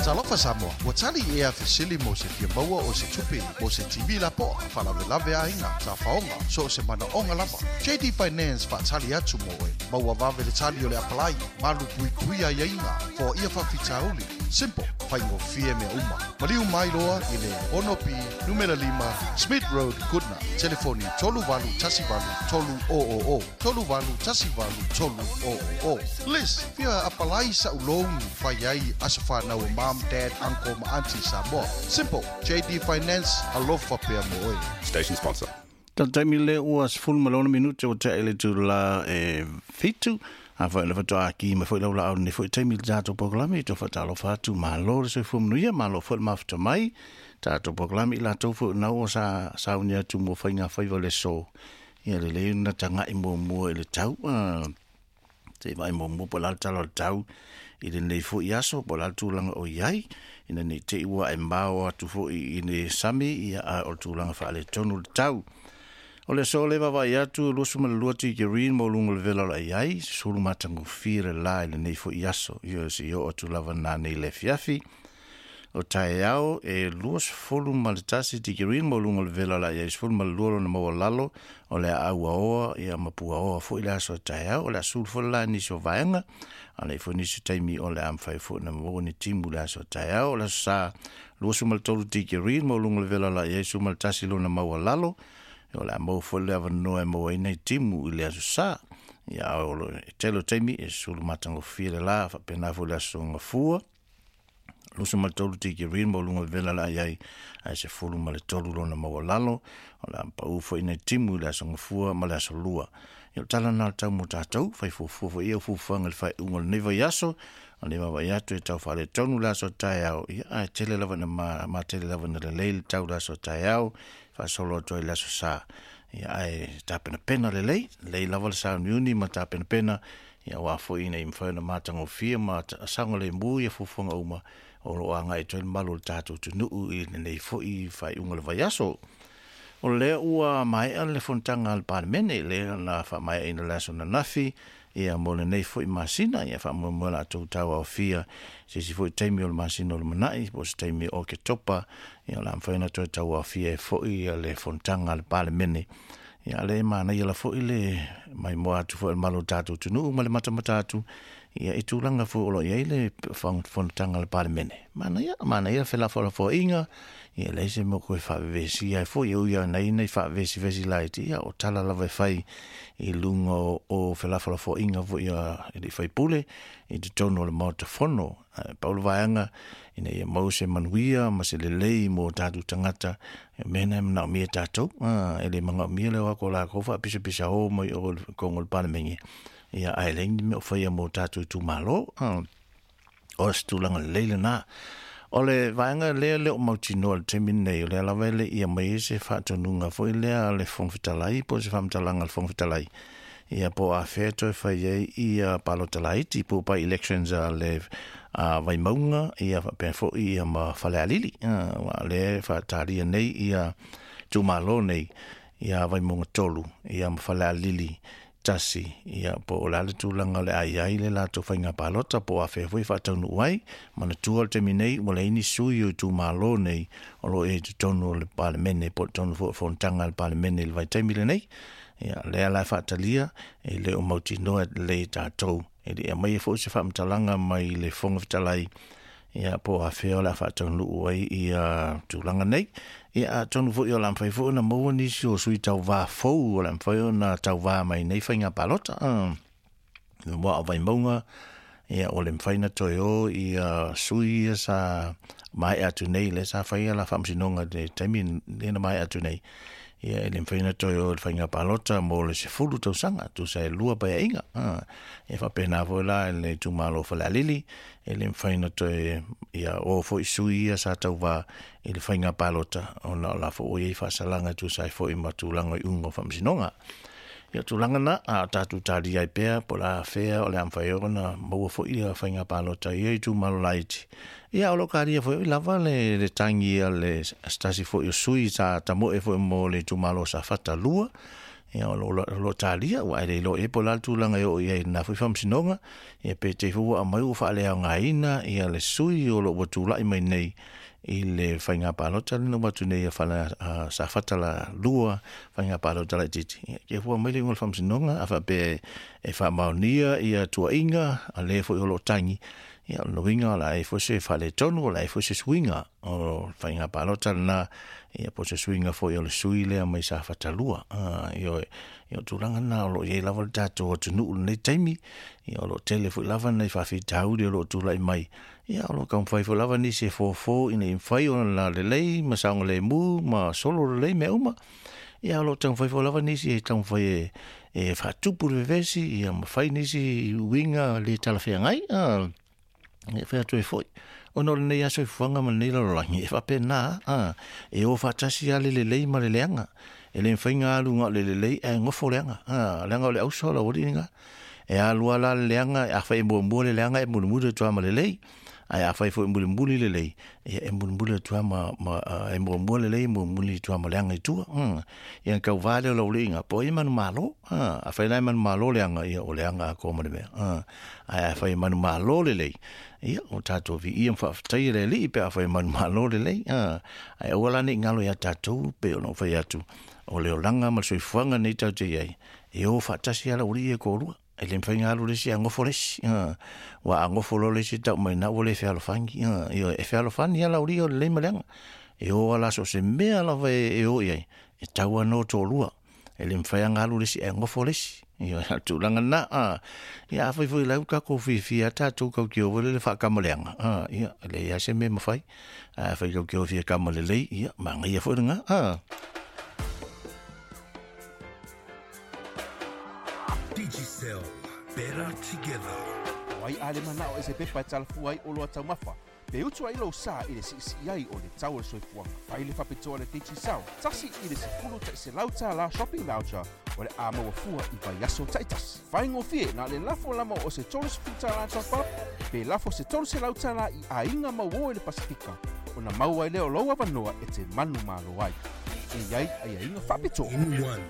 Talofa Samoa, ua tali ea fesili mo se fia maua o se tupe mo se TV lapoa, faalavelave aiga, tafaoga, so o se manaoga lava. JD Finance faatali atu mo oe. Maua vave le tali o le apalai, malu puipui aiaiga, foaia faafitauli. Simple, faigofie mea uma. Maliu mai loa i le 6B numera 5 Smith Road, Goodna. Telefoni 3818 300 3818 300. Liz, fia apalai sa'u loan fai ai aso fanau o mom, dad, uncle ma auntie Samoa. Simple, JD Finance, alofa pea mo oe. Station sponsor. Taimi le ua 16 minute o te ele tu la e 7. A foi le faatoa ki mai foi lau laau nei foi taimi i le tatou polokalame i to faatalofa atu malo le soifua manuia malo foi le mafuta mai tatou polokalame i latou foi na ua sa sauni atu mo faiga faiva le so ia lelei ona taga'i muamua i le tau se i vaai muamua po o le a le tala o le tau i lenei foi aso po o le a le tulaga o i ai ina nei te i ua e mao atu foi i le sami ia a o le tulaga faaletonu le tau. O le aso lea e vaavaai atu, 22 tikeri mo luga o le vela o le ai ai, sulu matagofie le la i lenei foi aso. Ia se i oo atu lava nanei le afiafi. O taeao e 21 tikeri mo luga o le vela o le ai ai, 12 lona maualalo o le aau ia ma puaoa foi le aso taeao. O le a sulu foi le la i nisi o vaega, a le foi nisi taimi o le a mafai foi na maua ni timu le aso taeao. O le aso sa 23 tikeri mo luga o le vela o le ai ai, 11 lona maualalo. O le a maua foi le avanoa e maua ai nai timu i le aso sa. Ia o le tele o taimi e sulu matagofie le la, faapena foi le aso gafua. 23 tikeri mo luga o le vela la ai ai, ae 13 lona maualalo. O le a pau foi nai timu i le aso gafua ma le aso lua. Ia o le tala lena o le tau mo tatou, fai fuafua foi ia o fuafuaga i le faaiuga o lenei vaiaso. O lenei vaavaai atu e tau faaletonu le aso taeao, ia ae tele lava ina ma tele lava ina lelei le tau le aso taeao, faasolo atu ai le aso sa. Ia ae tapenapena lelei, lelei lava le sauniuni ma tapenapena, ia aua foi ina ia mafai ona matagofie ma saogalemu ia fuafuaga uma o lo o agai atu ai le malu o le tatou atunuu i lenei foi faaiuga o le vaiaso. O lea ua maea le fonotaga a le Palemene, lea na faamaeaina le aso ananafi, ia mo lenei foi masina, ia faamoemoe latou tauaofia se isi foi taimi o le masina o le lumanai, po o se taimi o Oketopa, ia o le a mafai ona toe tauaofia ai foi ia le fonotaga a le Palemene. Ia lea e manaia la foi le maimoa atu foi o le malu o le tatou atunuu ma le matamata atu ia i tulaga foi o lo o i ai le fonotaga a le Palemene. Manaia, manaia felafolafoaiga, ia leai se mea o toe faavevesia ai foi, e ui lava ina i faavevesivesi laiti, ia o tala lava e fai i luga o felafolafoaiga foi a alii faipule i totonu o le Maota Fono. Ae pau le vaega ina ia maua se manuia ma se lelei mo tatou tagata, o mea na e manaomia e tatou. E le manaomia le o atu o latou faapisapisa o mai o i totonu o le Palemene, ia ae leai ni mea o faia mo tatou itumalo. O se tulaga lelei lena. O le vaega lea le o mautinoa i le taimi lenei, o lea lava e le i aumai ai se faatonuga foi lea a le Fofoga Fetalai po o se faamatalaga a le Fofoga Fetalai, ia po o afea e toe fai ai ia palota laiti po o by elections a le a Vaimauga ia faapea foi ia ma Falealili. Aua o lea e faatalia nei ia itumalo nei ia Vaimauga 3 ia ma Falealili 1, ia po o le a le tulaga o le a i ai le latou faiga palota po o afea foi e faataunuu ai. Manatua o le taimi nei ua leai ni sui o itumalo nei o lo o i ai i totonu o le Palemene po o totonu foi o fonotaga a le Palemene i le vaitaimi lenei. Ia lea la e faatalia e le o mautinoa lelei e tatou. E le i aumaia foi se faamatalaga mai le Fofoga Fetalai ia po o afea o le a faataunuu ai ia tulaga nei. Ia atonu foi o le a mafai foi ona maua nisi o sui tauvā fou o le a mafai ona tauvā mai nei faiga palota. Mua o Vaimauga, ia o le mafai ona toe o ia sui ia sa maea atu nei, lea sa fai la faamasinoga i le taimi lea na maea atu nei, ia e le mafai ona toe o i le faiga palota mo le 10 tausaga, tusa e 2 paeaiga. E faapena foi la i le itumalo o Falealili, e le mafai ona toe ia o foi sui ia sa tauvā i le faiga palota, ona o la foi ua i ai faasalaga e tusa ai foi ma tulaga o iuga o faamasinoga. Ia o tulaga na, a o tatou talia ai pea po o le a fea o le a mafai ona maua foi ia faiga palota i ia itumalo laiti. Ia o lo o talia foi lava le tagi a le se tasi foi o sui sa tamoe foi mo le itumalo o Safata 2. Ia o lo talia ua e le iloa i ai po o le a le tulaga e oo i ai i lena foi faamasinoga. Ia pe te i foi ua aumai ua faaleaogaina ia le sui o lo o ua tulai mai nei i le faiga palota lea na uma atu nei a Safata 2 faiga palota laitiiti. Ia te i foi ua aumai le iuga o le faamasinoga a faapea e faamaonia ia tuuaiga a le foi o lo o tagi. Ia o lona uiga o le a i ai foi se faaletonu, o le a i ai foi se suiga o faiga palota lena, ia po o se suiga foi o le sui lea mai Safata 2. Ioe, ia o tulaga lena o lo o i ai lava le tatou atunuu i lenei taimi, ia o lo o tele foi lava nai faafitauli o lo o tulai mai, ia o lo o taumafai foi lava nisi e fofo ina ia mafai ona lelei ma saogalemu ma solo lelei mea uma. Ia o lo o taumafai foi lava nisi e taumafai e faatupu le vevesi, ia ma fai nisi uiga le talafeagai. E fai atu ai foi, ona o lenei aso soifuaga ma lenei lalolagi, e faapena, e o faatasi lava le lelei ma le leaga. E le mafai ona alu na o le lelei ae nofo leaga. Leaga o le auso lau alii lena. E alu lava la le leaga, afai e muamua le leaga e mulimuli atu lava ma lelei. Ae afai foi e mulimuli lelei, ia e mulimuli atu lava ma e muamua lelei e mulimuli atu lava ma leaga i tua. Ia ona tauva lea o lau alii ina, po o ai e manumalo. Afai la e manumalo leaga, ia o leaga atoa ma le mea. Ae afai e manumalo lelei, ia o tatou viia ma faafetaia le Alii pe afai e manumalo lelei. Ae aua la ne i galo ia tatou, pei ona ou fai atu, o le olaga ma le soifuaga nei tatou te i ai, e o faatasi lava lau alii ia e toalua. E le mafai ona alu le isi ae nofo le isi. Aua a nofo loa le isi tau mai ina ua le fealofani. Ioe, e fealofani lava lau alii o lelei ma leaga. E o lava la so o se mea lava e o i ai, e tau lava ona o toalua. E le mafai lava ona alu le isi ae nofo le isi. Ioe, o le tulaga lena. Ia afai foi o la e ua tatou fiafia lava tatou tatou te o foi lele faatama leaga, ia, e leai lava se mea e mafai. Ae afai tatou te o fia tama lelei, ia, manaia foi lena. Digicel, better together. O ai a le manao e se pepa e talafua ai oloa taumafa, pe utu ai lou sa i le siisii ai o le tau o le soifuaga. Fai le faapitoa a le Digicel, $1 $100 shopping voucher o le a maua fua i vaiaso taitasi. Faigofie na o le lafo lama o se $30 top up, pe lafo se $300 i aiga mauō i le Pasefika, ona maua ai lea o lou avanoa e te manumalo ai. E i ai aiaiga faapitoa. In one.